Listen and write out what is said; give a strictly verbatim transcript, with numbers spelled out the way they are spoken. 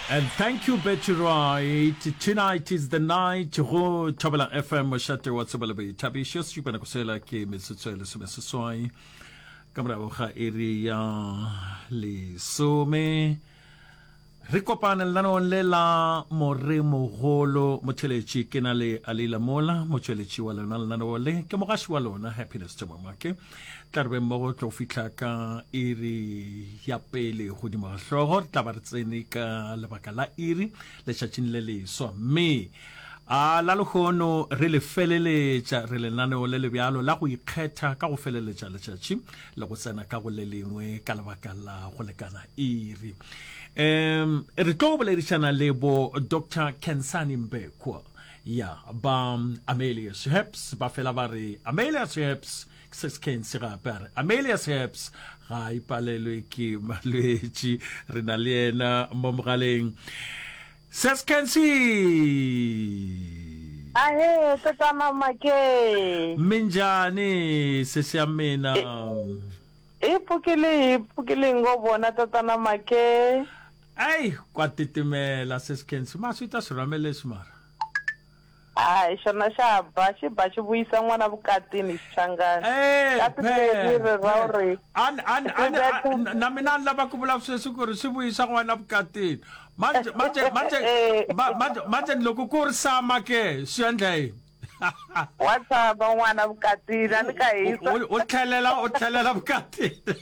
And thank you Betty Wright. Tonight is the night go Thobela F M mošate wa tsebo le boithabišo. Sešupa nako sela ke metsotso e lesomeseswai ka morago ga iri ya lesome. Re kopane lenaneong le la Moremogolo Motheletši. Ke na le Alila Mola, motšweletši wa lona lenaneo le. Ke mogaši wa lona, Happiness Themamake. Tla re be mmogo tlo fihla ka iri ya pele godimo ga hlogo. Re tla ba re tsene ka lebaka la iri letšatšing le leswa. Mme a la lehono re le feleletša re lenaneo le le bjalo la go ikgetha ka go feleletša letšatši le go tsena ka go le lengwe ka lebaka la go lekana iri. Um re tlo boledišana le bo Doctor Khensani Mbekwa ya ba Amelius Herbs. Ba fela ba re Amelius Herbs se se Kensi gape a re Amelius Herbs ga ipalelwe ke malwetši. Re na le yena mo mogaleng. Ses Kensi. Ahe, tatana Make. Minjani sesi ya mina? E pokele, e pokele ngo bona tatana Make. Ei, kwa titimela Ses Kensi. Maswi ta swi rhame leswi mara. Hai, xona xa ba, xi ba xi vuyisa n'wana vukatini Xichangani. Eh, Ka phela, ri ra phela. uri. An, an, an, Ri betha. an, na mina ni lava ku vula sweswi ku ri swi vuyisa n'wana vukatini. Manje, manje, manje, ma, manje, manje loko ku ri sama ke, swi endla yini? Wa tshama n'wana vukatini, a ni ka hisa. U, u tlhelela, u tlhelela vukatini.